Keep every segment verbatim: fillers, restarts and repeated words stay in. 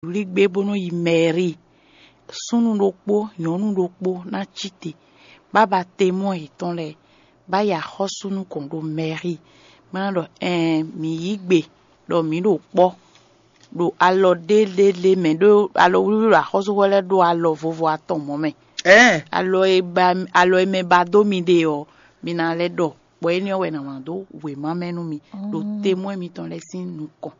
wlí gbé bó nɔ́ yi mɛ̌ri. Súnnu ɖokpó, nyɔ̌nu ɖokpó ná cí te, bó ná ba temɔ́ yětɔn lɛ́ɛ, bó ná yi axɔ́sú nukɔn ɖo mɛ̌ri, bó ná ɖɔ: "Ɛɛn, mǐ yí gbe ɖɔ mǐ ɖo kpɔ́ ɖo alɔ ɖé ɖé ɖé mɛ, ɖó alɔ wlíwlí ɖo axɔ́súxwé lɛ́ɛ ɖó alɔ vovo atɔn mɔ̌ mɛ." Ɛɛ, Alɔ e ba alɔ e mɛ ba dó mi ɖe ɔ́, mi ná lɛ́ ɖɔ, bɔ énɛ́ ɔ́ wɛ è nǎ wlán dó wěma mɛ nú mi ɖo temɔ́ mitɔn lɛ́ɛ sín nukɔn.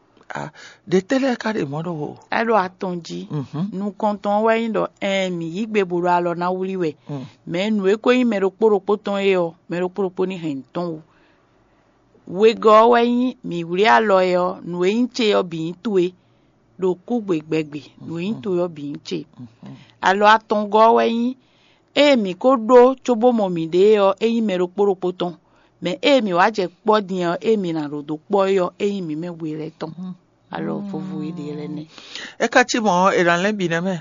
Ɖe tɛ́ lɛ́ɛ ka ɖe mɔ̌ ɖo o? É ɖo atɔn jí. Mhm. Nukɔntɔn ɔ́ wɛ nyí ɖɔ ɛɛn, mǐ yí gbe bo ɖo alɔ ná wlí wɛ. Mm. Mɛ̌ nǔ e ko nyí mɛ ɖokpó ɖokpó tɔn é ɔ́, mɛ ɖokpó ɖokpó ní hɛn nǔ tɔn wú. Wegɔ́ ɔ́ wɛ nyí mǐ wlí alɔ é ɔ́, nǔ e nyí ce ɔ́ bǐ nyí towe, ɖo kúgbe gbɛgbe, nǔ e nyí towe ɔ́ bǐ nyí ce. Alɔ atɔngɔ́ ɔ́ wɛ nyí ée mǐ ko ɖó cóbó mɔ mǐɖée ɔ́, é nyí mɛ ɖokpó ɖokpó tɔn. Mɛ ée mǐ wá jɛ kpɔ́ din ɔ́, ée mǐ ná ɖo dó kpɔ́ é ɔ́, é nyí mǐ mɛ we lɛ́ɛ tɔn. Alɔ vovo e ɖe lɛ́ɛ nɛ́. É ka cí mɔ̌ ɔ́, è nǎ lɛ́ bǐ nɛ́ mɛ.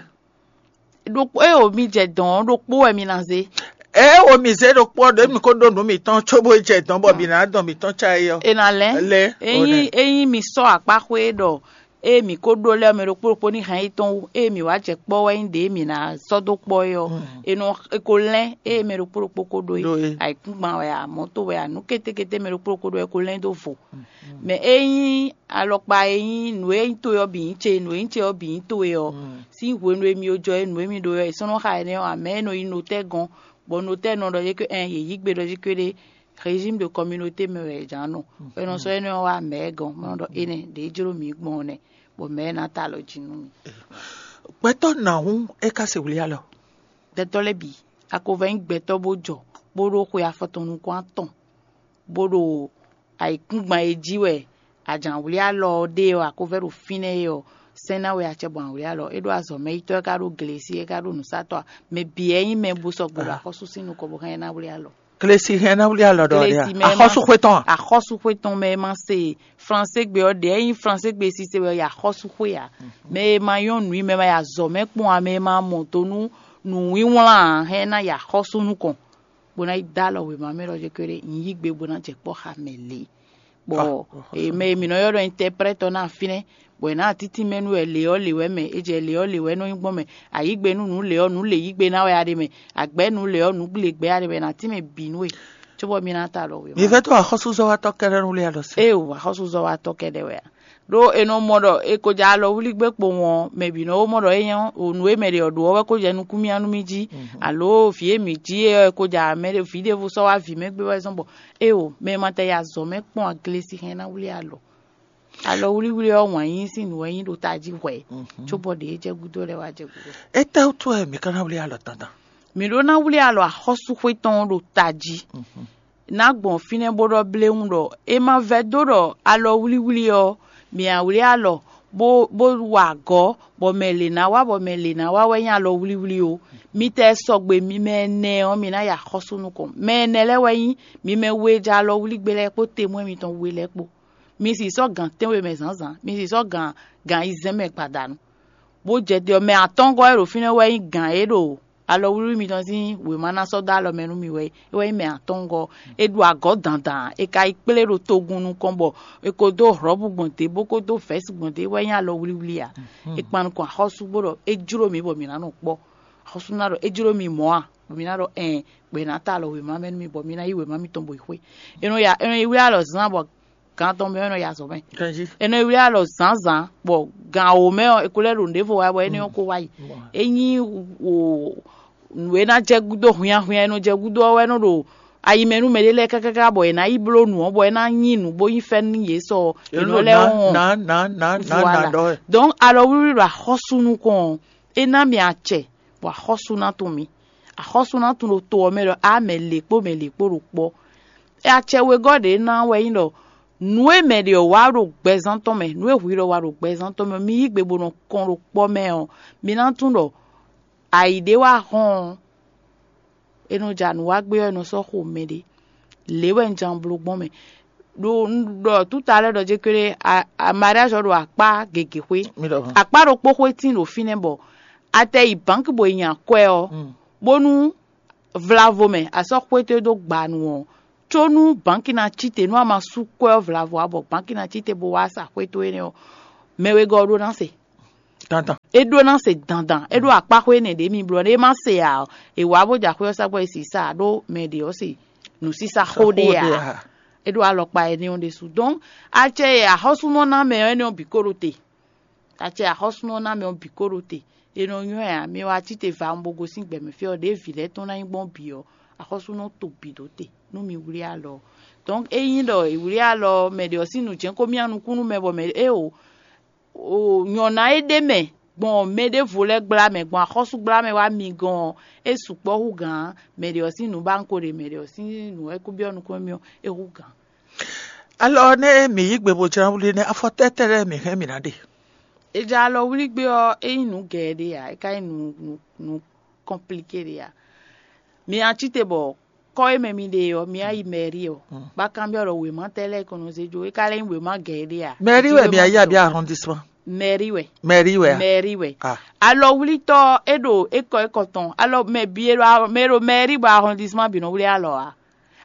Ɖokpó e o mi jɛ dɔn ɔ́, ɖokpó wɛ mi ná zé. Ée wo mǐ zé ɖokpó ɔ́, ɖě mǐ ko ɖó nǔ mǐtɔn cóbó jɛ dɔn bɔ mǐ ná dɔn mǐtɔn cá é ɔ́. È nǎ lɛ́. Lɛ́, Ényí ényí mi sɔ́ akpá xwé ɖɔ ée mǐ ko ɖó lɛ́ɛ mɛ ɖokpó ɖokpó ní hɛn yi tɔn wú, ée mǐ wá jɛ kpɔ́ wɛ nyí ɖě mǐ ná sɔ́ dó kpɔ́ é ɔ́, è nɔ è ko lɛ́n ée mɛ ɖokpó ɖokpó ko ɖó é. Ɖó é. Ayǐkúngban wɛ a, mɔ̌to wɛ a, nǔ kétékété mɛ ɖokpó ɖokpó ɖó é ko lɛ́n dó vo. Mɛ ényí alɔkpa e nyí nǔ e nyí towe ɔ́ bǐ nyí ce, nǔ e nyí ce ɔ́ bǐ nyí towe ɔ́, sín hwenu e mi jɔ é nǔ e mi ɖó ɔ́, è sɔ́ nɔ xa énɛ́ ɔ́ ǎ, mɛ̌ e nɔ yi notɛ́ gɔ́n, bɔ notɛ́ nɔ ɖɔ yě ké ɛn yě yí gbe ɖɔ yě ké ɖé régime de communauté mɛ wɛ è jǎn nɔ. È nɔ sɔ́ énɛ́ ɔ́ wá mɛ̌ gɔ́n, bó nɔ ɖɔ énɛ́ ɖě jló mǐ gbɔn ɔ́ nɛ́, bɔ mɛ̌ ná ta alɔ jí nú mì. Gbɛtɔ́ nǎhún é ka se wlí alɔ. Gbɛtɔ́ lɛ́ɛ bǐ, a ko vɛ́ nyí gbɛtɔ́ bó jɔ, bó ɖó xwe afɔ tɔn nukɔn atɔn, bó ɖo ayǐkúngban e jí wɛ ajǎnwlí alɔ ɔ́ ɖe ɔ́, a ko vɛ́ ɖo fínɛ́ é ɔ́, sɛ́n ná wɛ acɛ bɔ awlí alɔ. É ɖó azɔ̌ mɛ yítɔ́, é ka ɖó glesi, é ka ɖó nǔsatɔ́ ǎ. Mɛ bǐ wɛ nyí mɛ bó sɔgbe ɖo axɔ́sú sín nukɔn bó hɛn ná wlí alɔ. Glesi hɛn ná wlí alɔ ɖɔ ɖe Glesi mɛ ma- axɔ́súxwé tɔn a? Axɔ́súxwé tɔn mɛ e ma se Flansé gbe ɔ́ ɖě e nyí Flansé gbe sise wɛ yi axɔ́súxwé ǎ. Mɛ e ma nyɔ́ nǔ i mɛ ma yi azɔ̌ mɛ kpɔ́n ǎ, mɛ e ma mɔ do nú nǔwínwlán ǎ, hɛn ná yi axɔ́sú nukɔn, bó ná yi dó alɔ wěma mɛ ɖɔ jɛ kéré, un yí gbe bó ná jɛ kpɔ́ xa mɛ lě. Bɔ Ah, e mɛ e mǐ nɔ ylɔ́ ɖɔ intɛprɛ́tɔ ná fínɛ́, bɔ è nǎ títí mɛ nú wɛ lě ɔ́ lě wɛ mɛ, è jɛ lě ɔ́ lě wɛ nɔ nyí gbɔn mɛ, a yǐ gbe nú nǔ lě ɔ́, nǔ lě yí gbe ná wɛ a ɖe mɛ, a gbɛ̌ nǔ lě ɔ́, nǔ lě gbɛ a ɖe mɛ, è nǎ tín mɛ bǐ nú we, cóbɔ mi ná ta alɔ wěma. Mi vɛ́ dó axɔ́súzɔ́watɔ́ kɛ́ɖɛ́ nú lé alɔ sí? Ée o, axɔ́súzɔ́watɔ́ kɛ́ɖɛ́ wɛ a? Ɖó è nɔ mɔ ɖɔ è ko jɛ alɔ wlí gbé kpowun ɔ́, mɛ bǐ nɔ wó mɔ ɖɔ é nyɔ́, o nǔ e mɛ ɖě ɔ́ ɖó ɔ́ wɛ ko jɛ nukún mì nú mì jí, alo vǐ e mǐ jí é ɔ́, è ko jɛ mɛ ɖé vǐ ɖěvo sɔ́ wá vǐ mɛ gbé wɛ zɔ́n bɔ éeǒ, mɛ e ma tɛ yi azɔ̌ mɛ kpɔ́n aglesixɛn ná wlí alɔ. Alɔ wlíwlí ɔ́, wǎn yíyí sín nǔ wɛ nyí ɖo tají hwɛ̌, cóbɔ ɖě e jɛ gúdo lɛ́ɛ wá jɛ gúdo. Étɛ́wútu wɛ mǐ ka ná wlí alɔ dandan? Mǐ ɖó ná wlí alɔ axɔ́súxwé tɔn ɔ́ ɖo tají. Ná gbɔn fínɛ́ bó ɖɔ bléwún ɖɔ é ma vɛdó ɖɔ alɔ wlíwlí ɔ́, mǐ a wlí alɔ bó bó wa agɔ̌, bɔ mɛ lě ná wá, bɔ mɛ lě ná wá wɛ nyí alɔ wlíwlí ó. Mi tɛ sɔgbe mi mɛ ɛnɛ ɔ́, mi ná yi axɔ́sú nukɔn. Mɛ ɛnɛ lɛ́ɛ wɛ nyí mi mɛ we e jɛ alɔ wlí gbé lɛ́ɛ kpó temwɛ́ mitɔn we lɛ́ɛ kpó. Mi sì sɔ́ gǎn tɛ́nwe mɛ zǎnzǎn, mi sì sɔ́ gǎn gǎn ayizɛ́n mɛ gbadanu, bó jɛ te ɔ́, mɛ atɔ́ngɔ́ e ɖo fínɛ́ wɛ nyí gǎn e ɖo alɔwlíwlí mitɔn sín wěma ná sɔ́ dó alɔ mɛ nú mi wɛ é. É wɛ nyí mɛ atɔ́ngɔ́. È ɖu agɔ̌ dandan, è ka yi kplé ɖo togun nukɔn bɔ è ko dó hlɔ̌bu gbɔn dě bó ko dó vɛ̌si gbɔn dě, é wɛ nyí alɔwlíwlí a? È kpan nukɔn axɔ́sú bó ɖɔ é jló mǐ bɔ mǐ ná nɔ kpɔ́. Axɔ́sú ná ɖɔ é jló mǐ mɔ̌ a? Bɔ mǐ ná ɖɔ ɛɛn, bɔ è nǎ ta alɔ wěma mɛ nú mi bɔ mi ná yí wěma mitɔn bɔ yi xwé. È nɔ ya è nɔ yi wlí alɔ zán bɔ gan tɔn mɛ ɔ́ nɔ yi azɔ̌ mɛ. Ganjí. È nɔ yi wlí alɔ zǎnzǎn, bɔ gan wǒ mɛ ɔ́, è ko lɛ́ ɖo nǔɖévo wa bɔ énɛ́ ɔ́ ko wá yi. Ényí wò nǔ e ná jɛ gúdo hwinnyahwinnya e nɔ jɛ gúdo ɔ́ wɛ nɔ ɖo ayi mɛ nú mɛɖé lɛ́ɛ kákáká bɔ è nǎ yi bló nǔ ɔ́, bɔ é ná nyí nǔ bó nyí fɛ́nú nú yě sɔ è nɔ lɛ́ wɔn. Nǎ nǎ nǎ nǎ nǎ Voilà. Ɖɔ wɛ. Donc alɔ wlíwlí ɖo axɔ́sú nukɔn ɔ́, é ná mi acɛ, bɔ axɔ́sú ná tunwun mi. Axɔ́sú ná tunwun ɖo to ɔ́ mɛ ɖɔ á mɛ lě kpó mɛ lě kpó ɖo kpɔ́. Acɛ wegɔ́ ɖě ná wɛ nyí ɖɔ nǔ e mɛ ɖě ɔ́ wa ɖo gbɛzán tɔn mɛ, nǔ e hwi ɖɔ wa ɖo gbɛzán tɔn mɛ, mi yí gbe bó nɔ kɔn ɖo kpɔ́ mɛ ɔ́, mi ná tunwun ɖɔ ayǐ ɖé wá hɔn ɔ́, è nɔ ja nǔ wá gbé ɔ́, è nɔ sɔ́ xo mɛɖé. Lě wɛ un jɛ bló gbɔn mɛ. Ɖo un ɖɔ túta lɛ́ɛ ɖɔ jé kéré, a- a- mariage ɔ́ ɖo akpá gěgé xwé. Mi ɖɔ hɔn. Akpá ɖokpó xwé tín ɖo fínɛ́ bɔ a tɛ yi bǎnki bɔ è nya kwɛ ɔ́, bónú vlavo mɛ a sɔ́ xwé towe dó gba nu ɔ́, có nú bǎnki ná cí te, nú a ma sú kwɛ ɔ́ vlavo ǎ bɔ bǎnki ná cí te bó wá sa xwé towe énɛ́ ɔ́, mɛ wegɔ́ ɔ́ ɖó ná se. Dandan. É ɖó ná se dandan, é ɖó akpáxwé énɛ́ ɖě mi bló ɔ́, é má se ǎ ɔ́, è wǎ bó jɛ axwé ɔ́ sá gbɔ é sǐ sa ɖó mɛ ɖě ɔ́ se nǔsísá xó ɖé ǎ. É ɖó alɔkpa énɛ́ ɔ́ ɖésú. Donc acɛ e axɔ́súnɔ ná mɛ ɔ́ énɛ́ ɔ́ bǐ ko ɖo te. Acɛ axɔ́súnɔ ná mɛ ɔ́ bǐ ko ɖo te. È nɔ nywɛ́ ǎ, mi wá cí te va bo gosín gbɛ̌mɛ fí ɔ́, ɖěe vǐ lɛ́ɛ tɔn ná nyí gbɔn bǐ ɔ́, axɔ́súnɔ to bǐ ɖó te nú mi wlí alɔ ɔ́. Donc ényí ɖɔ è wlí alɔ ɔ́, mɛ ɖě ɔ́ sín nǔ jɛ́n ko myá nukún nú mɛ bɔ mɛ é o o nyɔ̌ná e ɖ'é mɛ gbɔn mɛ ɖěvo lɛ́ɛ gbla mɛ, gbɔn axɔ́súgbla mɛ wá mi gɔ́n ɔ́, é sukpɔ́ hú gǎn mɛ ɖě ɔ́ sín nǔ ba un ko ɖe mɛ ɖě ɔ́ sín nǔ wɛ kó byɔ́ nukɔn émí ɔ́, é hú gǎn. Alɔ nɛ́ mǐ yí gbe bó jlá wlí nɛ́, afɔ tɛ́tɛ́ lɛ́ɛ mǐ hɛn mǐ ná ɖe? È jɛ alɔ wlí gbé ɔ́, é nyí nǔ gɛɛ ɖé ǎ, é ka nyí nǔ nǔ nǔ kɔnplíké ɖé ǎ. Mi ná cí te bɔ kɔ́ e mɛ mi ɖe ɔ́, mi ná yi mɛ̌ri ɔ́, bá kanbyɔ́ ɖɔ wěma tɛ́ lɛ́ɛ kɔn nɔ zé jó, é ka lɛ́ nyí wěma gɛɛ ɖé ǎ? Mɛ̌ri wɛ mi ayé abí arrondissement? Mɛ̌ri wɛ. Mɛ̌ri wɛ a? Mɛ̌ri wɛ. Ah. Alɔwlítɔ́ é ɖo ékɔ ékɔ tɔn, alɔ mɛ bǐ e ɖo mɛ e ɖo mɛ̌ri bɔ arrondissement bǐ nɔ wlí alɔ ǎ.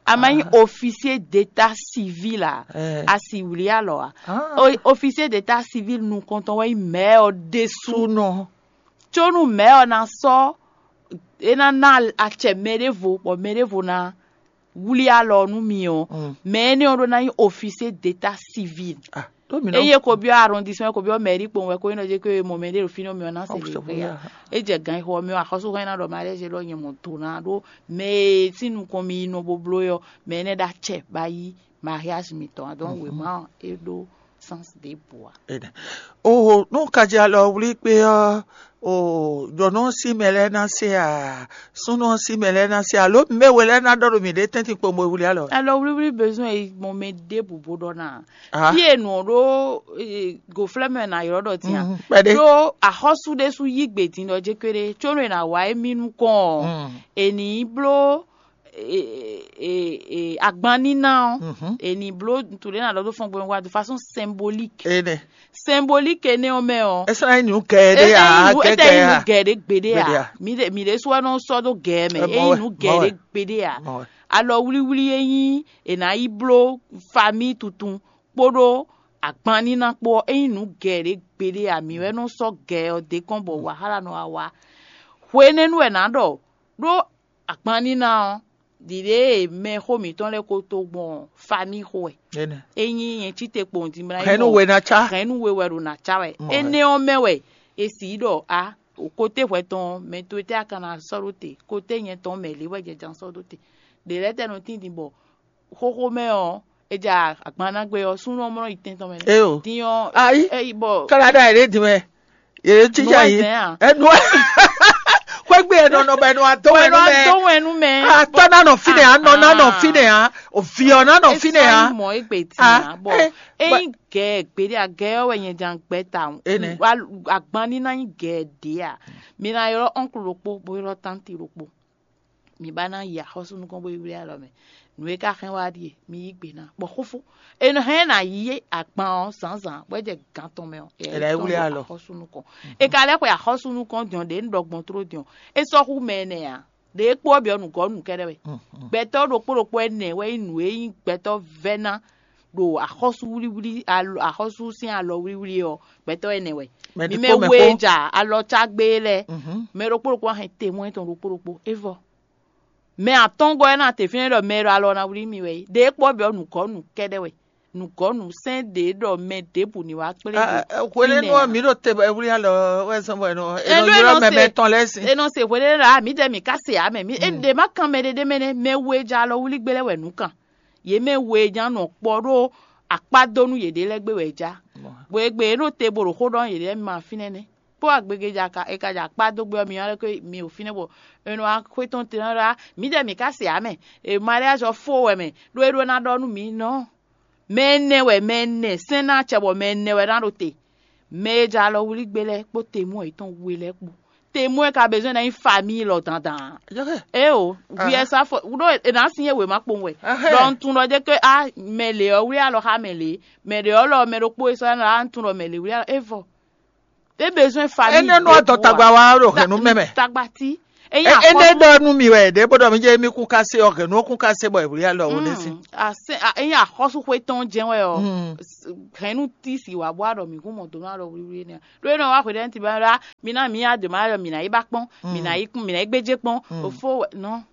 A ma nyí officier d'état civil ǎ, a si wlí alɔ ǎ. O- officier d'état civil nukɔntɔn wɛ nyí mɛ̌ ɔ́ ɖésú. Sú nɔ. Có nú mɛ̌ ɔ́ ná sɔ́ é ná ná acɛ mɛ ɖěvo bɔ mɛ ɖěvo ná wlí alɔ nú mi ɔ́, mɛ énɛ́ ɔ́ ɖó ná nyí officier d'état civil. Ah, ɖó mi nɔ. Eye ko byɔ́ arrondissement, ko byɔ́ mairie kpowun wɛ ko nyí nɔ jɛ ko mɔ mɛ ɖé ɖo fínɛ́ mi ɔ́ ná se lě xwé ya. É jɛ gan xɔ mi ɔ́, axɔ́súhɛn ná ɖɔ mariage lɔ nyɛ mɔ do ná ɖó mɛ e sín nukɔn mi yi nɔ bo bló ɔ́, mɛ énɛ́ ɖó acɛ ba yí mariage mitɔn ǎ. Donc wěma ɔ́, é ɖó sens ɖěbǔ ǎ. Énɛ́. O nú kajɛ alɔ wlí kpé ɔ́, o nyɔ̌nu ɔ́ sín mɛ lɛ́ɛ ná se a, súnnu ɔ́ sín mɛ lɛ́ɛ ná se a, alo mɛ we lɛ́ɛ ná ɖɔ ɖo mǐɖée tɛ́ntin kpowun bo wlí alɔ? Alɔ wlíwlí bezoin e gbɔn mɛ ɖěbǔ bo ɖɔ ná. Ah. Fí e nǔ ɔ́ ɖó gǒflɛ́ mɛ ná ylɔ́ ɖɔ din a? Mhm, kpɛɖé. Ɖó axɔ́sú ɖésú yí gbe din ɖɔ jé kpéɖé, có nú è nǎ wá émí nukɔn ɔ́, è nǐ bló agban níná ɔ́, è nǐ bló nǔtúɖé ná ɖɔ dó fɔ́n gbɛmɛ wá de façon symbolique. Énɛ́. Symbolique énɛ́ ɔ́ mɛ ɔ́, é sɔ́ ná nyí nǔ gɛɛ ɖé ǎ, é nyí nǔ gɛgɛ ǎ. Gɛgɛ ǎ. Mǐ ɖe- mǐ ɖésú wɛ nɔ sɔ́ dó gɛɛ mɛ. É nyí nǔ gɛɛ ɖé gbeɖé ǎ. Alɔ wlíwlí e nyí è nǎ yi bló famíi tuntun kpódó agban níná kpó ɔ́, é nyí nǔ gɛɛ ɖé gbeɖé ǎ. Mǐ wɛ nɔ sɔ́ gɛɛ ɔ́ dé kɔn bɔ wahala nɔ wá wá. Hwenɛ́nu wɛ nǎ ɖɔ ɖó agban níná ɔ́, ɖiɖe e mɛxó mǐtɔn lɛ́ɛ ko to gbɔn famíi xo wɛ. Énɛ́. É nyí nyɛ cí te kpowun din mlá Hɛn nú we ná cá. Hɛn nú we wɛ ɖo nǎ cá wɛ. Mɔ wɛ. Énɛ́ ɔ́ mɛ wɛ è sǐ ɖɔ a, kote hwɛ tɔn mɛ towe tɛ́ a ka ná sɔ́ ɖó te, kote nyɛ tɔn mɛ lě wɛ jɛ jan sɔ́ ɖó te. Ɖě lɛ́ɛ tɛ́ nɔ tín din bɔ xóxó mɛ ɔ́, è ja agban ná gbé ɔ́, súnnu ɔ́ mɔ nɔ yi tɛn tɔn mɛ nɛ́. Éyo. Din ɔ́, Ayi. É yi bɔ Kálá ɖɔ ayǐ ɖé din mɛ. Yě cí nú ya yìí. Ɛzɛn a? Ẹnu xwégbé ẹ nɔnɔ bɛ nɔ adó Wɛ wɛ nú nɔ mɛ. Adó wɛ nú mɛ. Atɔ nanɔ fínɛ a, nɔ nanɔ fínɛ a, òvì ɔ nanɔ fínɛ a. Mɔ egbe Ah, tina bɔ eh, eyin gɛ gbede agɛ ɔwɛ nyɛ jan gbɛ ta Ene. Agban ni na nyi gɛ de a. Mi na ylɔ ɔnklu ɖokpo bo ylɔ tanti ɖokpo. Mi ba na yi axɔsu nukɔn bo yi wlé alɔ mɛ. Nu e ka xɛn wa ɖie mi yi gbe na bɔ xófó. Enɔ hɛn na yi agban ɔ zanzan bɔ e jɛ gan tɔn mɛ ɔ. Ela yi wlé alɔ. Axɔsu nukɔn. E ka lɛ xwe axɔsu nukɔn diɔn ɖe nu ɖɔ gbɔn tro diɔn. E sɔ hu mɛ nɛ a. Ɖe kpó ɔ́ bǐ ɔ́ nǔgɔ́ nǔ kɛ́ɖɛ́ wɛ. Gbɛtɔ́ ɖokpó ɖokpó ɛnɛ wɛ nyí nǔ e nyí gbɛtɔ́ vɛ́ ná ɖo axɔ́súwlíwlí alo axɔ́sú sín alɔwlíwlí ɔ́, gbɛtɔ́ ɛnɛ wɛ. Mɛ Mi ɖokpó mɛ mɛ we xó. Ja alɔ cá gbé lɛ́ɛ, Mhm. Mɛ ɖokpó ɖokpó wá hɛn temwɛ́ tɔn ɖokpó ɖokpó. É vɔ. Mɛ atɔ́ngɔ́ ɛ ná te fínɛ́ ɖɔ mɛ e ɖo alɔ ná wlí mi wɛ é. Ɖe kpɔ́ bǐ ɔ́ nǔgɔ́ nǔ kɛ́ɖɛ́ wɛ. Nǔgɔ́ nǔ sɛ́n ɖě ɖɔ mɛ ɖěbǔ ní wá kplé mi. Hwenɛ́nu ɔ́, mǐ ɖo te wlí alɔ wɛ zɔn bɔ è nɔ è nɔ Enu e ylɔ́ nɔ mɛ se- mɛ tɔn lɛ́ɛ sin. E nɔ se hwenu ɖé ɖɔ a mǐ jɛ mǐ ka se ǎ mɛ. Mǐ e ɖě má kan mɛ ɖé ɖé mɛ nɛ́, mɛ we e ja alɔ wlí gbé lɛ́ɛ wɛ nǔ kan. Yě mɛ we e ja nɔ kpɔ ɖó akpá dó nú yěɖée lɛ́ɛ gbé wɛ é já. Bɔ e gbe é nɔ te bo ɖo xó ɖɔ yěɖée lɛ́ɛ ma fínɛ́ nɛ́. Kpó agbege ja ka è ka ja akpá dó gbé ɔ́, mi ɔ́ lɛ́ ko mi ɖo fínɛ́ bɔ è nɔ wá xwé tɔn te ná ɖɔ á, mǐ jɛ mǐ ka se ǎ mɛ. E mariage ɔ́ fó wɛ mɛ, ɖó é ɖó ná ɖɔ nú mǐ nɔ. Mɛ ɛnɛ wɛ mɛ ɛnɛ sɛ́n ná acɛ bɔ mɛ ɛnɛ wɛ ná ɖo te. Mɛ e ja alɔ wlí gbé lɛ́ɛ kpó temú yětɔn we lɛ́ɛ kpó. Temú e ka bezɔn ná nyí famille lɔ dandan. Éo, viyɛ sá fɔ ɖó è nǎ sin yé wěma kpowun wɛ. Ɖɔ un tunɔ ɖé ké a mɛ lě ɔ́ wlí alɔ xá mɛ lě, mɛ ɖě ɔ́ lɔ mɛ ɖokpó e sɔ́ ná un tunɔ mɛ lě wlí alɔ é vɔ. É bezɔn famille. Énɛ́ nú adɔ tagba wa ɖo hɛ̌nnu mɛ mɛ. Tagba tí. Enyi E- ene ɖɔ nú mi wɛ ɖě bó ɖɔ mi jɛ mi kún ká se ɔ hɛn nú kún ká se bɔ ìwúlí alɔ wo ɖe sí. Enyi axɔ́súxwé tɔn jɛn wɛ ɔ, hɛn nú tí si wà bó aɖɔ mǐ kún mɔ dó nú aɖɔ wlíwlí nɛ. Ɖó é nɔ wá xwedɛ́ nti bá ɖá mi ná mǐ adǒ má ɖɔ mǐ ná yi ba kpɔ́n, mǐ ná yi kún mǐ ná yi gbéjé kpɔ́n. Òfó wɛ nɔ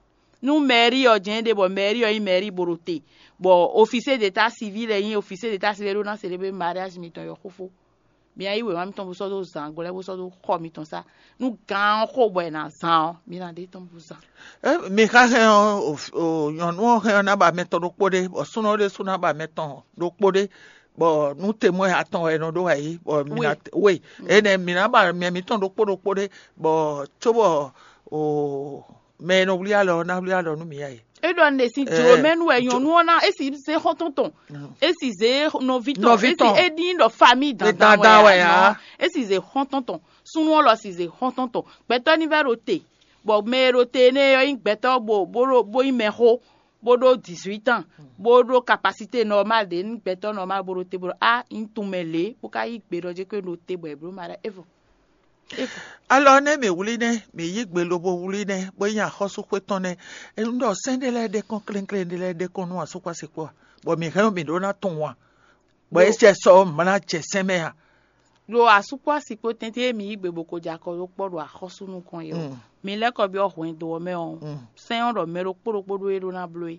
nú mɛ̌rí ɔ jɛn ɖe bɔ mɛ̌rí ɔ nyí mɛ̌rí bo ɖo te, bɔ ofisé de ta siví lɛ nyí ofisé de ta siví ɖó ná se ɖé bɛ mariage mitɔn yɔ xófó. Mi ná yí wěma mitɔn bó sɔ́ dó zǎn gblɛ́ bó sɔ́ dó xɔ mitɔn sá. Nú gǎn ɔ́ xo bɔ è nǎ zán ɔ́, mi ná ɖe tɔn bó zán. Mi xa hɛn ɔ́, nyɔ̌nu ɔ́ hɛn ɔ́ ná ba mɛ tɔn ɖokpó ɖé, bɔ súnɔ ɖé sú ná ba mɛ tɔn ɖokpó ɖé, bɔ nú temwɛ atɔn wɛ è nɔ ɖó wɛ yí, bɔ mi ná we énɛ́ mi ná ba mɛ mitɔn ɖokpó ɖokpó ɖé, bɔ cóbɔ mɛ e nɔ wlí alɔ ɔ́ ná wlí alɔ nú mi ǎ é. É ɖɔ un ɖe sín jlǒ mɛ nú wɛ nyɔ̌nu ɔ́ ná é si zé xɔ́ntɔn tɔn, é si zé nɔví tɔn, Nɔví é si tɔn. É ɖi ɖɔ famí dandan Dandan wɛ wɛ ǎ, ǎ. Nɔ, é si zé xɔ́ntɔn tɔn, súnnu ɔ́ lɔ si zé xɔ́ntɔn tɔn. Gbɛtɔ́ ní vɛ́ ɖo te, bɔ mɛ e ɖo te énɛ́ ɔ́ nyí gbɛtɔ́ bo bó ɖo bó nyí mɛxó, bó ɖó dix-huit ans, bó ɖó capacité normal ɖě nú gbɛtɔ́ normal bó ɖo te bó ɖɔ á un tunwun mɛ lě bó ka yí gbe ɖɔ jɛ́n ko e ɖo te bɔ è blǒ ma ɖɔ é vɔ. Alɔ nɛ́ mǐ wlí nɛ́, mǐ yí gbe lobo wlí nɛ́, bó nyí axɔ́súxwé tɔn nɛ́. Un ɖɔ sɛ́n ɖé lɛ́ɛ ɖe kɔn klénklén ɖé lɛ́ɛ ɖe kɔn nú asúkpásikpó a, bɔ mǐ hɛn mǐ ɖó ná tunwun a, bɔ é sɛ sɔ mlá jɛ sɛn mɛ a. Ɖo asúkpásikpó tɛ́ntin e mǐ yí gbe bó ko jɛ akɔ ɖó kpɔ́ ɖo axɔ́sú nukɔn é ɔ́, mi lɛ́ kɔ byɔ́ hwɛndo ɔ́ mɛ ɔ́, sɛ́n ɔ́ ɖɔ mɛ ɖokpó ɖokpó ɖó e ɖó ná bló é.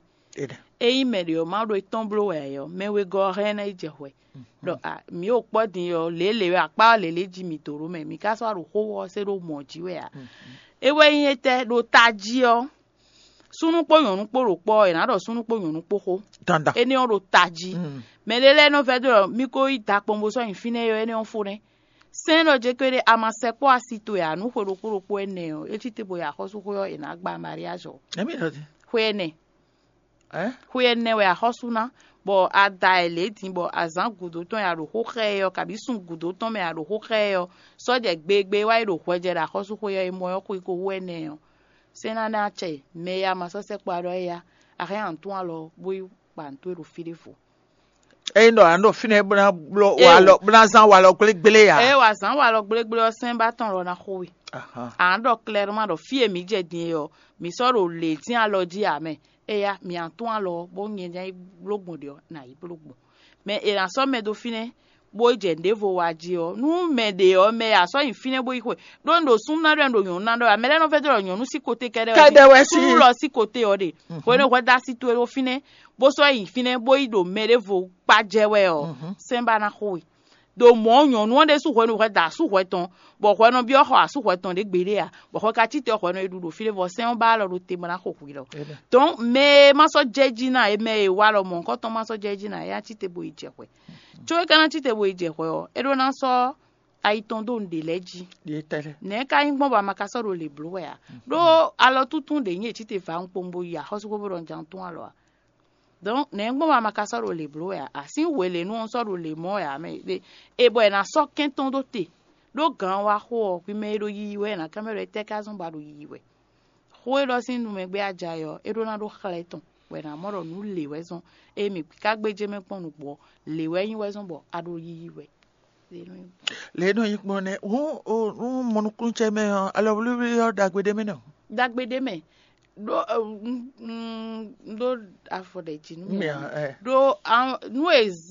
Ényí mɛ ɖě ɔ́ ma ɖo étɔn bló wɛ ǎ é ɔ́, mɛ wegɔ́ ɔ́ hɛn ná yi jɛ hwɛ. Ɖɔ a mǐ ɖo kpɔ́ din ɔ́, lě e lě akpá ɔ́ lě lě jí mǐ dó ɖó mɛ, mǐ ka sɔ́ wá ɖo xó ɔ́ se ɖó mɔ̌ jí wɛ ǎ. É wɛ nyí étɛ́ ɖo tají ɔ́, súnnu kpó nyɔ̌nu kpó ɖo kpɔ́ ɔ́, è nǎ ɖɔ súnnu kpó nyɔ̌nu kpó xó. Dandan. Énɛ́ ɔ́ ɖo tají. Mɛ ɖé lɛ́ɛ nɔ vɛ́ dó ɖɔ mí ko yi da kpɔn bó sɔ́ nyi fínɛ́ é ɔ́, énɛ́ ɔ́ fó nɛ́. Sɛ́n ɖɔ jɛ kpé ɖé a ma sɛkpɔ́ asi towe ǎ nú xwe ɖokpó ɖokpó énɛ́ ɔ́, é cí te bo yi axɔ́súxwé ɔ́, è nǎ gba mariage ɔ́. Xwe ɛnɛ. Xwe ɛnɛ wɛ axɔ́sú ná, bɔ a da ɛ lě din bɔ azǎn gǔdo tɔn ya ɖo xó xá ɛ ɔ́, kabǐ sun gǔdo tɔn mɛ ya ɖo xó xá ɛ ɔ́, sɔ́ jɛ gbegbé wá yi ɖo hwɛjɛ ɖo axɔ́súxwé ɔ́, e mɔ ɔ́ xwiko hú ɛnɛ ɔ́, sɛ́n ná ná acɛ mɛ e a ma sɔ́ sɛkpɔ́ ɖɔ éyá, a hɛn ǎ tún alɔ bó yi kpa nǔ towe ɖo fí ɖěvo. Ényí ɖɔ a nɔ ɖo fínɛ́ bó ná bló Eo. Walɔ bó ná zán walɔ gblégblé ǎ. Eye wǎ zán walɔ gblégblé ɔ́, sɛ́n ba tɔn lɔ ná xo we. Ahan. À ń ɖɔ klɛrma ɖɔ fí e mǐ jɛ din e ɔ́, mǐ sɔ́ ɖo lě dín alɔ jí ǎ mɛ. Eya mǐ a tún alɔ ɔ́, bó nyɛ ná yi bló gbɔn ɖě ɔ́, nǎ yi bló gbɔn. Mɛ è nǎ sɔ́ mɛ dó fínɛ́, bó jɛ nǔɖévo wa jí ɔ́, nú mɛ ɖě ɔ́, mɛ e a sɔ́ nyi fínɛ́ bó yi xwe, ɖó un ɖo súnnu ná ɖɔ un ɖo nyɔ̌nu ná ɖɔ ǎ. Mɛ lɛ́ɛ nɔ vɛ́ dó ɖɔ nyɔ̌nu sín koté kɛ́ɖɛ́ wɛ Kɛ́ɖɛ́ wɛ sí. Súnnu lɔ sín koté ɔ́ ɖe. Hwenu e hwɛ dó asi towe ɖó fínɛ́, bó sɔ́ yi fínɛ́ bó yi ɖo mɛ ɖěvo kpá jɛ wɛ ɔ́, sɛ́n ba ná xo we. Ɖo mɔ̌ nyɔ̌nu ɔ́ ɖésú hwenu hwɛ da asú hwɛ tɔn, bɔ hwɛ nɔ byɔ́ xɔ asú hwɛ tɔn ɖě gbeɖé ǎ, bɔ hwɛ ka cí te ɔ́, hwɛ nɔ yi ɖu ɖo fí ɖé vɔ sɛ́n ɔ́ ba alɔ ɖo te bɔ ná xo hwi lɔ. Dɔ̌n mɛ e ma sɔ́ jɛ jí ná, e mɛ e wa lɔ mɔ̌hunkɔtɔn ma sɔ́ jɛ jí ná, é ná cí te bo yi jɛ hwɛ. Có é ka ná cí te bo yi jɛ hwɛ ɔ́, é ɖó ná sɔ́ ayi tɔn dó nǔɖé lɛ́ɛ jí. Nɛ̌ ka nyí gbɔn bɔ a ma ka sɔ́ ɖo lě bló wɛ ǎ? Ɖó alɔ túntún ɖě nyí è cí te va un kpowun bo yi axɔ́súxwé bó ɖɔ un ja un tún alɔ ǎ. Dɔ̌n nɛ̌ gbɔn bɔ a ma ka sɔ́ ɖo lě bló wɛ ǎ? A sín hwelěnu ɔ́ sɔ́ ɖo lě mɔ wɛ ǎ mɛ. E bɔ è nǎ sɔ́ kɛ́n tɔn dó te, ɖó gǎn wa xo ɔ́, hwi mɛ e ɖo yiyi wɛ, è nǎ kán mɛ ɖɔ étɛ́ ka zɔ́n ba ɖo yiyi wɛ? Xó e ɖɔ sín nu mɛ gbé a ja é ɔ́, é ɖó ná ɖó xlɛ́ tɔn, bɔ è nǎ mɔ ɖɔ nǔ lě wɛ zɔ́n. Ée mǐ ka gbéjé mɛ kpɔ́n nǔgbó ɔ́, lě wɛ nyí wɛ zɔ́n bɔ a ɖo yiyi wɛ. Lě e nɔ nyi gbɔn nɛ́ hǔn nú mɔnukúnúcɛ mɛ ɔ́, alɔwlíwlí ɔ́ ɖagbe ɖé mɛ nɔ. Ɖagbe ɖé mɛ ɖó ɖó afɔ ɖe jí nú mɛ. Ɖó nú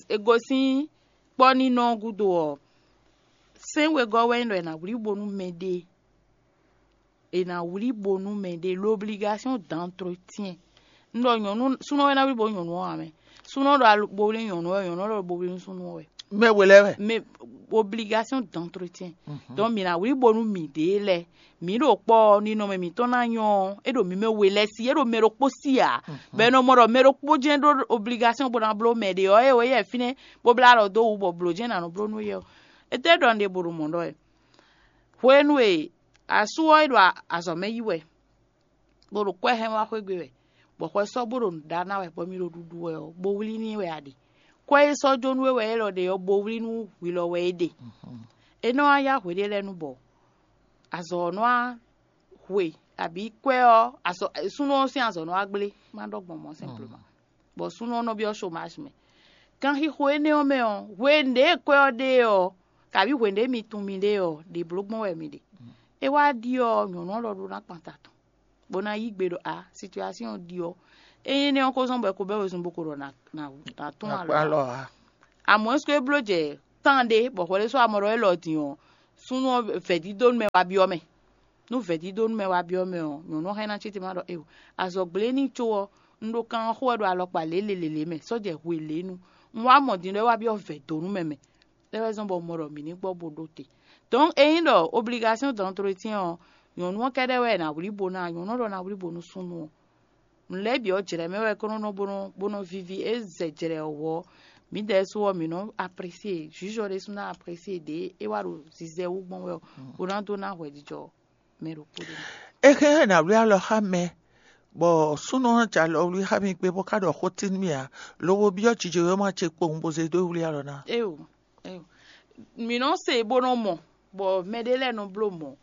e gosín kpɔ́ nínɔ gúdo ɔ́, sɛ́n wegɔ́ wɛ nyí ɖɔ è nǎ wlí bo nú mɛɖée. È nǎ wlí bo nú mɛɖée, l'obligation d'entretien. Un ɖɔ nyɔ̌nu súnɔ wɛ ná wlí bo nú nyɔ̌nu ɔ́ ǎ mɛ. Súnɔ ɖɔ bo wlí nyɔ̌nu ɔ́, nyɔ̌nu ɔ́ ɖɔ bo wlí nú súnnu ɔ́ wɛ. Mɛ we lɛ́ɛ wɛ. Mais obligation d'entretien. Donc mǐ ná wlí bo nú mǐɖée lɛ́ɛ. Mǐ ɖo kpɔ́ ɔ́, ninɔmɛ mǐtɔn ná nyɔ́ ɔ́, é ɖo mǐ mɛ we lɛ́ɛ sí, é ɖo mɛ ɖokpó sí ǎ. Bɔ è nɔ mɔ ɖɔ mɛ ɖokpó jɛ́n ɖó obligation bó ná bló mɛ ɖě ɔ́, é wɛ yɛ fínɛ́ bó blá alɔ dó wú bɔ blǒ jɛ́n ná nɔ bló nú yɛ ɔ́. Étɛ́ ɖɔ un ɖe bo ɖo mɔ̌ ɖɔ wɛ? Hwenu e asú ɔ́ é ɖo azɔ̌ mɛ yí wɛ, bó ɖo kwɛ́ hɛn wá xwé gbe wɛ, bɔ xwɛ sɔ́ bó ɖo nǔ ɖa ná wɛ, bɔ mi ɖo ɖuɖu wɛ ɔ́, bo wlí n'i wɛ a ɖe. Kwɛ́ e sɔ́ jó nú we wɛ élɔ́ ɖe ɔ́, bo wlí nú hwi lɔ wɛ é ɖe. É nɔ wá yá hweɖé lɛ́ɛ nu bɔ azɔ̌ ɔ́ nɔ wá hwe, abǐ kwɛ́ ɔ́, azɔ̌ súnnu ɔ́ sín azɔ̌ nɔ wá gblé, má ɖɔ gbɔn mɔ̌ simplement. Bɔ súnnu ɔ́ nɔ byɔ́ chômage mɛ. Kanxixo énɛ́ ɔ́ mɛ ɔ́, hwenu ɖě e kwɛ́ ɔ́ ɖe ɔ́, kabǐ hwenu ɖě mi tunwun miɖée ɔ́, ɖě bló gbɔn wɛ mi ɖe. É wá ɖi ɔ́, nyɔ̌nu ɔ́ lɔ ɖó ná kpan ta tɔn. bó ná yí gbe ɖɔ a, situasɔ́n ɔ́ ɖi ɔ́, ényí énɛ́ ɔ́ ko zɔ́n bɔ è ko bɛ́ wezun bó ko ɖɔ nǎ tún alɔ ǎ. Amɔ̌ é bló jɛ tán ɖé bɔ hwɛɖésú amɔ ɖɔ élɔ́ din ɔ́, súnnu ɔ́ vɛ̌dídónú mɛ wá byɔ́ mɛ. Nú vɛ̌dídónú mɛ wá byɔ́ mɛ ɔ́, nyɔ̌nu ɔ́ hɛn ná cí te má ɖɔ éeǒ. Azɔ̌ gblé n'i có ɔ́, un ɖo kan ɔ́ xo wɛ ɖo alɔkpa lělelelě mɛ, sɔ́ jɛ hwe lě nu. Un wá mɔ din ɖɔ é wá byɔ́ vɛ̌dónú mɛ mɛ. É wɛ zɔ́n bɔ un mɔ ɖɔ mǐ ní gbɔ bó ɖó te. Donc ényí ɖɔ obligation d'entretien ɔ́, nyɔ̌nu ɔ́ kɛ́ɖɛ́ wɛ è nǎ wlí bo ná, nyɔ̌nu ɔ́ ɖɔ ná wlí bo nú súnnu ɔ́. Nǔ lɛ́ɛ bǐ ɔ́ jlɛ̌ mɛ wɛ kó nɔ́ nɔ bó nɔ́ bó nɔ́ víví é zɛ jlɛ̌ ɔ́ wɔ. Mǐdɛɛ sú ɔ́, mǐ nɔ́ aprésié, jǔzɔ ɖésú ná aprésié ɖě é wá ɖo zizɛ wú gbɔn wɛ ɔ́, bó ná dó ná hwɛjijɔ mɛ ɖokpó ɖé. É hɛn ná wlí alɔ xá mɛ, bɔ súnnu ɔ́ jɛ alɔ wlí xá mì gbé bó ka ɖɔ xó tín mì ǎ, lobo byɔ́ jijewéma ce kpowun bó zé dó wlí alɔ ná. Éyo, éyo. Mǐ nɔ se bó nɔ mɔ, bɔ mɛɖé lɛ́ɛ nɔ bló mɔ̌.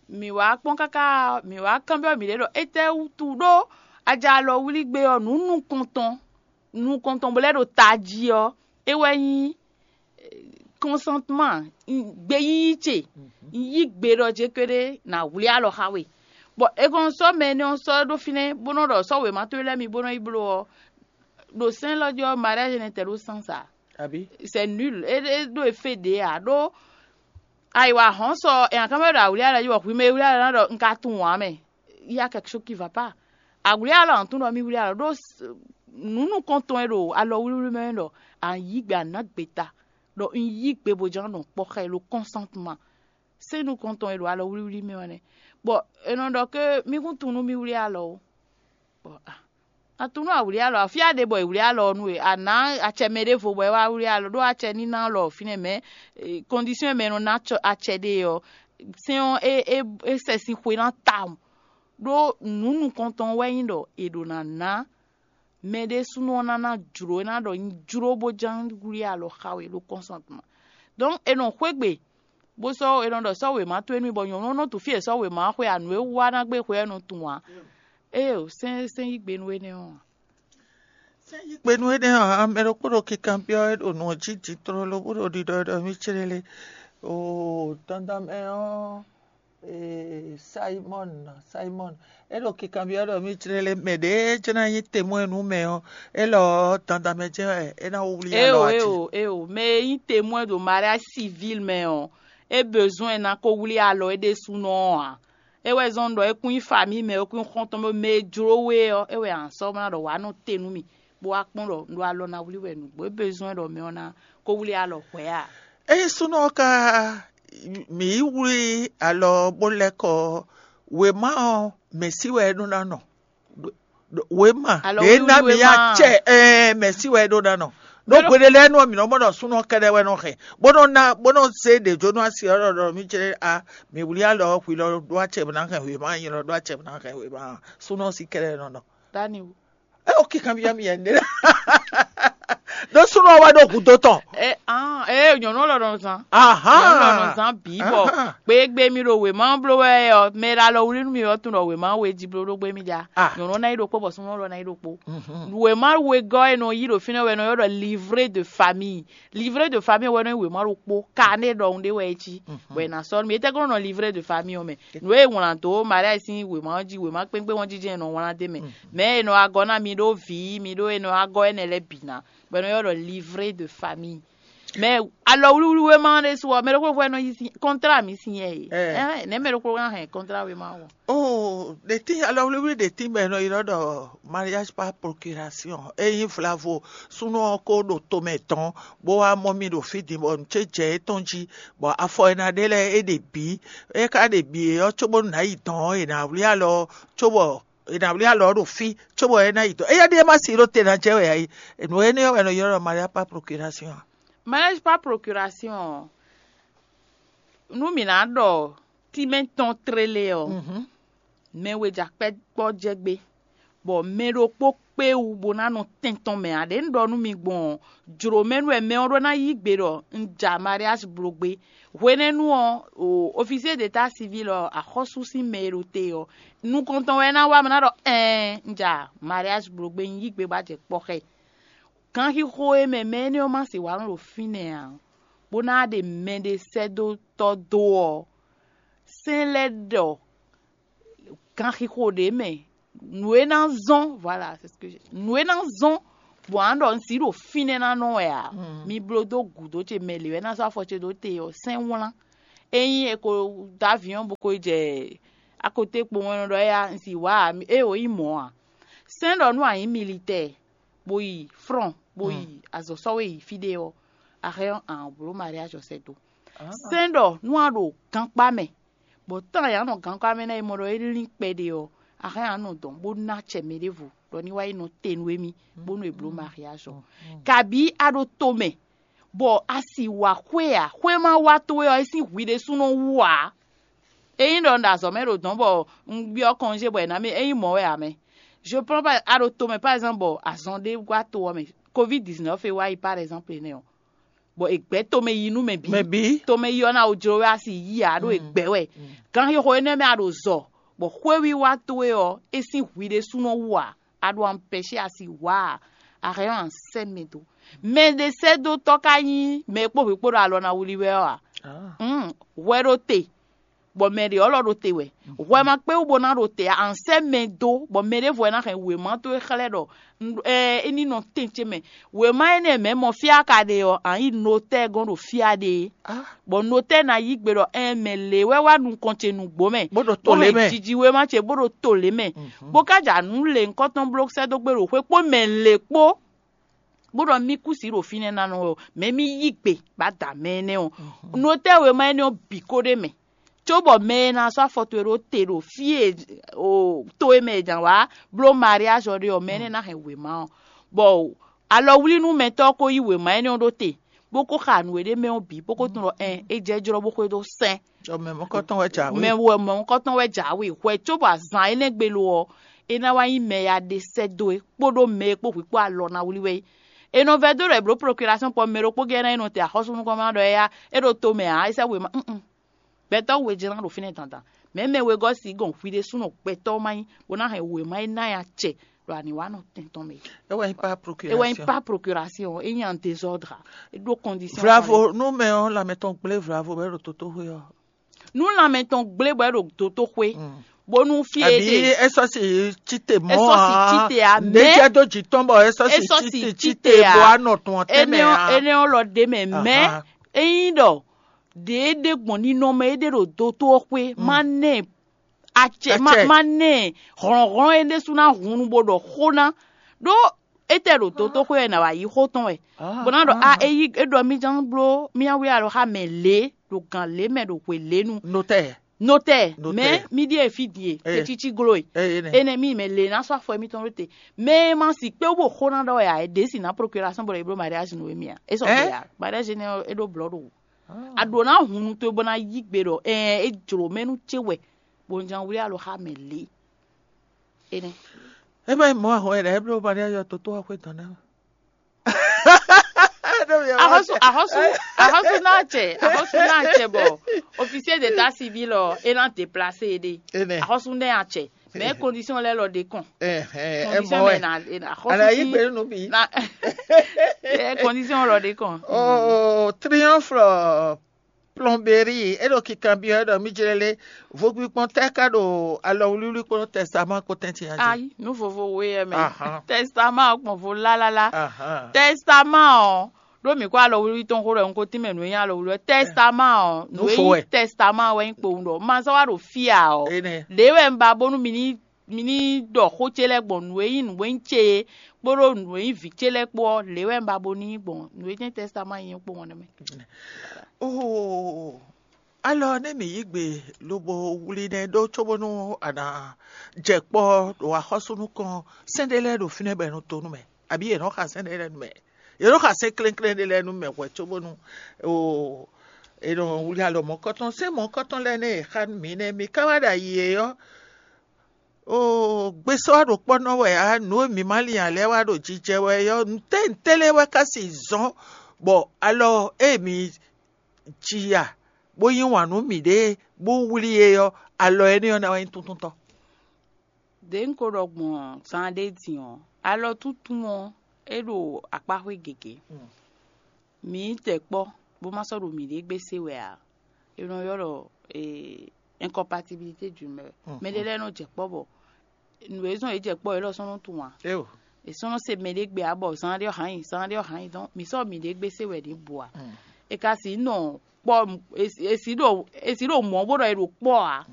Mǐ wá kpɔ́n káká, mǐ wá kanbyɔ́ mǐɖée ɖɔ étɛ́ wútu ɖó a jɛ alɔ wlí gbé ɔ́, nǔ nukɔntɔn, nukɔntɔn bó lɛ́ ɖo tají ɔ́, é wɛ nyí kɔnsantman, gbeyíyí ce. Yí gbe ɖɔ jé kpéɖé nǎ wlí alɔ xá we. Bɔ è kɔn sɔ́ mɛ énɛ́ ɔ́ sɔ́ ɖó fínɛ́ bó nɔ́ ɖɔ sɔ́ wěma towe lɛ́ɛ mi bó nɔ́ yi bló ɔ́, ɖo sɛ́n élɔ́ jí ɔ́, mariage nɛ́ tɛ ɖó sɛ́n sa. Abǐ? C'est nul. É é ɖó efé ɖě ǎ ɖó ayiwa hɔn sɔ è nǎ ká mɛ ɖo awlí alɔ jí bɔ hwi mɛ e wlí alɔ ná ɖɔ un ka tunwun ǎ mɛ. Il y a quelque chose qui va pas. Awlí alɔ ɔ́ tún ɖɔ mì wlí alɔ ɖó nǔ nukɔntɔn e ɖo alɔ wlíwlí mɛ é ɖɔ a yí gbe a nǎ gbe ta ɖɔ un yí gbe bó ján nɔ kpɔ́ xá ɛ ɖo kɔnsantman. Sɛ́n nukɔntɔn e ɖo alɔ wlíwlí mɛ ɔ́ nɛ́. Bɔ è nɔ ɖɔ ké mì kún tunwun nú mì wlí alɔ ó. Bɔ a a tunwun nú a wlí alɔ ǎ, fí a ɖe bɔ è wlí alɔ ɔ́ nú we, a nǎ acɛ mɛ ɖěvo bɔ é wá wlí alɔ ɖó acɛ ní ná lɔ fínɛ́ mɛ. Kɔndisɔ́n e mɛ e nɔ ná acɛ ɖe ɔ́, sɛ́n ɔ́ é é é sɛ sín xwe ná tawun. Ɖó nǔ nukɔntɔn wɛ nyí ɖɔ è ɖǒ ná ná mɛ ɖésúnɔ ɔ́ ná ná jlǒ é ná ɖɔ nyi jló bó ján wlí alɔ xá we ɖó kɔ́nsɔntɔ́. Donc è nɔ xwé gbe bó sɔ́ è nɔ ɖɔ sɔ́ wěma towe nú mì bɔ nyɔ̌nu ɔ́ nɔ tunwun fí e è sɔ́ wěma ɔ́ xwe ǎ, nǔ e wú wá ná gbé xwe ɔ́ nɔ tunwun ǎ. Éeǒ, sɛ́n sɛ́n yí gbe nú énɛ́ ɔ́ ǎ. Sɛ́n yí gbe nú énɛ́ ɔ́ ǎ, mɛ ɖokpó ɖo kikanbyɔ́ wɛ ɖo nǔ ɔ́ jí din tlóló bó ɖo ɖiɖɔ ɖɔ mì céɖéle. Oo, dandan mɛ ɔ́, ee, Simɔ́n, Simɔ́n, é ɖo kikanbyɔ́ ɖɔ mì céɖéle mɛ ɖě jɛ́n ná nyí temwɛ́ nú mɛ ɔ́, élɔ́ ɔ́, dandan mɛ jɛ́n wɛ é ná wlí alɔ Éeǒ, jí. Éeǒ, éeǒ, mɛ e nyí temwɛ́ ɖo mariage civil mɛ ɔ́, é bezoin ná ko wlí alɔ é ɖésúnɔ ɔ́ ǎ. É wɛ zɔ́n ɖɔ é kún nyí famíi mɛ, é kún nyí xɔ́ntɔn mɛ, mɛ e jló we ɔ́, é wɛ a nǎ sɔ́ ná ɖɔ wǎ nɔ te nú mì, bó wá kpɔ́n ɖɔ un ɖo alɔ ná wlí wɛ nǔgbó é bezoin ɖɔ mɛ ɔ́ ná ko wlí alɔ hwɛ̌ a? Ényí súnnu ɔ́ ka mǐ yi wlí alɔ bó lɛ́ kɔ ɔ́, wěma ɔ́, mɛ̌ sí wɛ é ɖó ná nɔ? Wěma Alɔ ɖě ná wíwlí mǐ wěma. Acɛ ɛɛ mɛ̌ sí wɛ é ɖó ná nɔ? Ɖó Mɛ ɖo- Hweɖé lɛ́ɛ nú ɔ́, mǐ nɔ mɔ ɖɔ súnnu ɔ́ kɛ́ɖɛ́ wɛ nɔ hɛn, bó nɔ ná bó nɔ zé ɖě jó nú asi ɔ́ ɖɔ ɖɔ mì cɛ́ a mǐ wlí alɔ ɔ́ hwi lɔ ɖó acɛ bó ná hɛn wěma, nyi lɔ ɖó acɛ bó ná hɛn wěma. Súnnu ɔ́ sí kɛ́ɖɛ́ nɔ nɔ. Daniel. É o kíkan byɔ́ mì yɛ ɖé. Ɖó súnnu ɔ́ wɛ ɖo gǔdo tɔn. Ɛ ah ɛ nyɔ̌nu lɔ nɔ zan. Aha. Nyɔ̌nu lɔ nɔ zan bǐ bɔ Aha. Gbégbé mi ɖo wěma bló wɛ ɔ, mɛ ɖe alɔ wlí nú mi ɔ́ tunɔ wěma we jí bló ɖó gbé mi ja. Ah. Nyɔ̌nu ná yi ɖokpó bɔ súnnu lɔ ná yi ɖokpó. Mhm. Wěma wegɔ́ e nɔ yí ɖo fínɛ́ wɛ nɔ ylɔ́ ɖɔ livret de famille. Livret de famille wɛ nɔ nyí wěma ɖokpó, carnet ɖɔhun ɖé wɛ é cí. Mhm. Bɔ è nǎ sɔ́ nú mi. Étɛ́ glɔ́ nɔ livret de famille ɔ́ mɛ? Nǔ e è wlǎn dó mariage sín wěma ɔ́ jí, wěma kpékpé ɔ́ jijɛ è nɔ wlán d'é mɛ. Mhm. Mɛ è nɔ wá gɔ́ ná mi ɖó vǐ, mi ɖó è nɔ wá gɔ́ énɛ́ lɛ́ɛ bǐ ná, bɔ è nɔ ylɔ́ ɖɔ livret de famille. Mɛ alɔ wlíwlí wéma ɔ́ ɖésú ɔ́, mɛ ɖokpó ɖokpó wɛ nɔ yí sín kɔntrá mi sín yɛ e. Ɛ. Ɛn, nɛ̌ mɛ ɖokpó ná hɛn kɔntrá wéma ɔ́? Oh, ɖe tín alɔ wlíwlí ɖe tín bɔ è nɔ ylɔ́ ɖɔ mariage par procuration. É nyí vlavo súnnu ɔ́ kó ɖo tomɛ tɔn bó wá mɔ mì ɖo fí din bɔ nǔ ce jɛ étɔn jí, bɔ afɔ e ná ɖe lɛ́ɛ é ɖe bǐ. É ka ɖe bǐ é ɔ́, cóbónú nǎ yi dɔ̌n ɔ́, è nǎ wlí alɔ ɔ́, cóbɔ è nǎ wlí alɔ ɔ́ ɖo fí, cóbɔ é ná yi dɔ̌n. Éyɛ́ ɖíe má si ɖó te ná jɛ wɛ ǎ é. Nǔ énɛ́ ɔ́ wɛ è nɔ ylɔ́ ɖɔ mariage par procuration ǎ. Mariage par procuration ɔ́, nú mǐ ná ɖɔ tínmɛ tɔn tlélé ɔ́, Mhm. Mɛ we ja kpɛ́ kpɔ́ jɛ gbé, bɔ mɛ ɖokpó kpé wú bó ná nɔ tɛn tɔn mɛ ǎ. Ɖě un ɖɔ nú mi gbɔn ɔ́, jlǒ mɛ nú wɛ mɛ ɔ́ ɖó ná yí gbe ɖɔ un ja mariage bló gbé. Hwenɛ́nu ɔ́, o officier d'état civil ɔ́, axɔ́sú sín mɛ e ɖo te ɔ́, nukɔntɔn wɛ é ná wá mɔ ná ɖɔ ɛɛn un ja mariage bló gbé, un yí gbe bó a jɛ kpɔ́ xá ɛ. Ganxixo e mɛ mɛ énɛ́ ɔ́ ma se wǎ nɔ ɖo fínɛ́ ǎ, bó ná ɖe mɛɖé sɛ́ dó tɔ́ dó ɔ́, sɛ́n lɛ́ ɖɔ Ganxixo ɖě mɛ, nǔ e ná zɔ́n, voilà, c'est ce que j'ai- nǔ e ná zɔ́n bɔ a ɖɔ un si ɖo fínɛ́ ná nɔ wɛ ǎ. Mi bló dó gǔdo ce mɛ lě wɛ ná sɔ́ afɔ ce dó te ɔ́, sɛn wlán. Ényí è ko dó aviɔn bó ko yi jɛ akotékpo mɛ nɔ ɖɔ éya un si wǎ ǎ, é o nyí mɔ̌ ǎ. Sɛn ɖɔ nú a nyǐ militɛ́ɛ bó yi frɔn bó yi azɔ̌ sɔ́ we yi fí ɖé ɔ́, a hɛn ɔ́ a bló mariage ɔ́ sɛ́ dó. Sɛn ɖɔ nú a ɖo gankpá mɛ, bɔ tán ya nɔ gankpá mɛ ná yi mɔ ɖɔ é lín kpɛɖé ɔ́, a hɛn a nɔ dɔn bó ná acɛ mɛ ɖěvo ɖɔ ní wá yi nɔ te nú émí bónú è bló mariage ɔ́. Kabǐ a ɖo to mɛ, bɔ a si wǎ xwé ǎ, xwé ma wá towe ɔ́, é sín hwi ɖésúnɔ wú ǎ. Ényí ɖɔ un ɖo azɔ̌ mɛ ɖo dɔ̌n bɔ un byɔ́ kɔnjé bɔ è nǎ mì, é nyí mɔ̌ wɛ ǎ mɛ. Je prends pas a ɖo to mɛ par exemple bɔ azɔn ɖé wá to ɔ́ mɛ, covid dix-neuf e wá yi par exemple énɛ́ ɔ́, bɔ è gbɛ̌ tomɛ yi nú mɛ bǐ. Mɛ bǐ. Tomɛ yi ɔ́ ná wǒ jló wɛ a si yí ǎ ɖó è gbɛ̌ wɛ. Ganxixo énɛ́ mɛ a ɖo zɔ, bɔ xwéwiwa towe ɔ́, é sín hwi ɖésúnɔ wú ǎ, a ɖo ampɛ́sé a si wǎ ǎ, a hɛn ɔ́ a sɛ́ mɛ dó. Mɛ ɖé sɛ́ dó tɔ́ ka nyí mɛ e kpó hwǐ kpó ɖo alɔ ná wlí wɛ ɔ́ ǎ. Hwɛ ɖo te, bɔ mɛ ɖě ɔ́ lɔ ɖo te wɛ. Hwɛ ma kpé wú bó ná ɖo te ǎ, a sɛ́ mɛ dó, bɔ mɛ ɖěvo wɛ ná hɛn wěma towe xlɛ́ ɖɔ é ní nɔ tɛn ce mɛ. Wěma énɛ́ mɛ mɔ fí a ka ɖe ɔ́, a nyí notɛ́ɛ gɔ́n ɖo fí a ɖe é. Bɔ notɛ́ɛ ná yí gbe ɖɔ ɛn mɛ lě wɛ wá nukɔn ce nǔgbó mɛ, Bó ɖo to lě mɛ. Jiji wěma ce bó ɖo to lě mɛ, bó ka ja nǔ lě ŋkɔtɔn bló sɛ́ dó gbé ɖo xwé kpó mɛ lě kpó, bó ɖɔ mí kú sí ɖo fínɛ́ ná nɔ ɔ́, mɛ mí yí gbe bá da mɛ énɛ́ ɔ́. Notɛ́ɛ wěma énɛ́ ɔ́ bǐ ko ɖ'é mɛ, cóbɔ mɛ e ná sɔ́ afɔ towe ɖó te ɖo fí e to e mɛ è jǎn wá bló mariage ɔ́ ɖe ɔ́, mɛ énɛ́ ná hɛn wěma ɔ́, bɔ alɔwlínúmɛtɔ́ ɔ́ ko yí wěma énɛ́ ɔ́ ɖó te, bó ko xa nǔ e ɖ'é mɛ ɔ́ bǐ, bó ko tunwun ɖɔ ɛn é jɛ jlɔ́ bó xwedó sɛn. Jɔ mɛ mɔ̌kɔtɔn wɛ jǎwe. Mɛ wɛ mɔ̌kɔtɔn wɛ jǎwe hwɛ, cóbɔ azǎn énɛ́ gbe lo ɔ́, é ná wá nyí mɛ ya ɖe sɛ́ dó é kpódó mɛ e kpó hwǐ kpó alɔ ná wlí wɛ é. È nɔ vɛ́ dó ɖɔ è blǒ procuration kpɔ mɛ ɖokpó gɛ́ ná yi nɔ te axɔ́súnukɔn má ɖɔ éyá é ɖo to mɛ ǎ, é sɛ́ wěma nn. Gbɛtɔ́ we jɛ́n ná ɖo fínɛ́ dandan. Mɛ̌ mɛ wegɔ́ si gɔn hwi ɖésúnɔ gbɛtɔ́ má nyí, bó ná hɛn wěma é ná ya acɛ ɖo anǐwánɔ tɛn tɔn mɛ. É wɛ nyí pas procuration. É wɛ nyí pas procuration, é nyí en désordre. É ɖó condition. Vlavo nú mɛ ɔ́ lanmɛ tɔn gblé vlavo bɔ é ɖo tótóxwé ɔ́. Nú lanmɛ tɔn gblé bɔ é ɖo tótóxwé, bónú fí e àbí ɖe é sɔ́ si tite mɔ é sɔ́ si tite a, mɛ jɛ dó jǐ tɔn bɔ é sɔ́ é si sɔ́ si tite tite tite a. Bɔ anɔ tɔn tɛnmɛ a. Énɛ́ ɔ́ lɔ ɖe mɛ mɛ. Ényí ɖɔ ɖě é ɖe gbɔn ninɔmɛ é ɖe ɖo dotó ɔ́ xwé má nɛ acɛ má Acɛ. Má nɛ hlɔ̌nhlɔ́n é ɖésú ná hun nu bó ɖɔ xó ná ɖó étɛ́ ɖo dotó xwé wɛ nǎ wá yí xó tɔn wɛ bó ná ɖɔ a é yí é ɖɔ mí ján bló mí ná wlí alɔ xá mɛ lě ɖo gǎn lě mɛ ɖo hwe lě nu. Notɛ́ɛ. Notɛ́ɛ. Notɛ́ɛ. Mɛ mí ɖíe fí din e Ee. Tetsitsi glo e Ee, énɛ́. Énɛ́ mí mɛ lě ná sɔ́ afɔ émítɔn ɖó te. Mɛ e ma si kpé wó xó ná ɖɔ wɛ ǎ é ɖě si ná procuration bɔ è bló mariage nú émí ǎ é sɔ Ɛ? Gbɛ ǎ. Mariage énɛ́ ɔ́ é ɖó blɔ̌ ɖo wò. A ɖǒ ná hun nu towe bó ná yí gbe ɖɔ ɛɛ é jlǒ mɛ nú ce wɛ bó ná wlí alɔ xá mɛ lě. Énɛ́. É má nyí mɔ̌ ahɔn e ɖɔ é bló mariage ɔ́ tótó wá xwé dɔn ná. Axɔ́sú axɔ́sú axɔ́sú ná acɛ axɔ́sú ná acɛ bɔ officier d'état civil ɔ é ná déplacé é ɖe. Énɛ́. Axɔ́sú ná acɛ mɛ condition lɛ lɔ ɖe kɔn. Ɛhɛn, ɛ Condition mɔ mɛ wɛ. Na na- axɔ́sú Ana yí sí gbé nínú bí. Na ɛ condition lɔ ɖe kɔn. Oh, triomphe plomberie é ɖo kikanbyɔ́ é ɖɔ mí jlɛ́ lé vogbikpɔn tɛ́ ká ɖo alɔwlíwlí kpó tɛ́stáman kpó tɛ́ntin ǎ jí. Ayi nu vovo we yɛ mɛ Ahan. Testament kpɔn vo lalala. Ahan. Testament ɔ ɖó mǐ kó alɔwlíwlí tɔn xó ɖɔ n ko tínmɛ nǔ e nyí alɔwlíwlí testament ɔ nǔ e Nufo nyí wɛ. Testament wɛ nyí kpowun ɖɔ ma zɔ́ wá ɖo fí ǎ ɔ Énɛ́. Ɖě wɛ un ba bónú mi ní mi ní ɖɔ xó ce lɛ́ɛ gbɔn nǔ e nyí nǔ e nyí ce é kpódó nǔ e nyí vǐ ce lɛ́ɛ kpó ɔ́ lě wɛ un ba bo ní gbɔn nǔ e jɛ́n tɛ́stáman nyí kpó wɔn nɛ́ mɛ. Oh, alɔ nɛ mǐ yí gbe lobo wlí nɛ́ ɖó cóbónú a nǎ jɛ kpɔ́ ɖo axɔ́sú nukɔn sɛ́n ɖé lɛ́ɛ ɖo fínɛ́ bɔ è nɔ to nú mɛ abǐ è nɔ́ xa sɛ́n ɖé lɛ́ɛ nú mɛ è nɔ́ xa sɛ́n klɛ́nklɛ́n ɖé lɛ́ɛ nú mɛ hwɛ cóbónú o è nɔ wlí alɔ mɔ̌kɔtɔn sɛ́n mɔ̌kɔtɔn lɛ́ɛ nɛ́ è xa nú mǐ nɛ́ mǐ ka wá ɖo ayi é ɔ́ o gbesɔ wá ɖo kpɔ́ nɔ wɛ ǎ nǔ e mǐ ma lin ǎ lɛ́ɛ wá ɖo jijɛ wɛ é ɔ́ ntɛ́ ntɛ́ lɛ́ɛ wɛ ka si zɔ́n bɔ alɔ e mǐ ji ya bó yí wǎn nú mǐɖée bó wlí é ɔ́, alɔ énɛ́ ɔ́ ná wá nyí túntúntɔ́. Đě un ko ɖɔ gbɔn zan ɖé din ɔ́, alɔ túntún ɔ́, é ɖo akpáxwé gěgé. Mǐ tɛ kpɔ́ bó má sɔ́ ɖo mǐɖée gbé se wɛ ǎ. È nɔ ylɔ́ ɖɔ ee, Incompatibilité du mɛ. Mɛ ɖé lɛ́ɛ nɔ jɛ kpɔ́ bɔ nǔ e zɔn yě jɛ kpɔ́ yě lɔ sɔ́ nɔ tunwun ǎ. Eo. È sɔ́ nɔ se mɛ ɖé gbe ǎ bɔ zan ɖé ɔ́ hán nyi, zan ɖé ɔ́ hán nyi dɔn mǐ sɔ́ mǐɖée gbé se wɛ ní bu ǎ. È ka si nɔ kpɔ́, è si ɖo mɔ̌ bó ɖɔ è ɖo kpɔ́ ǎ.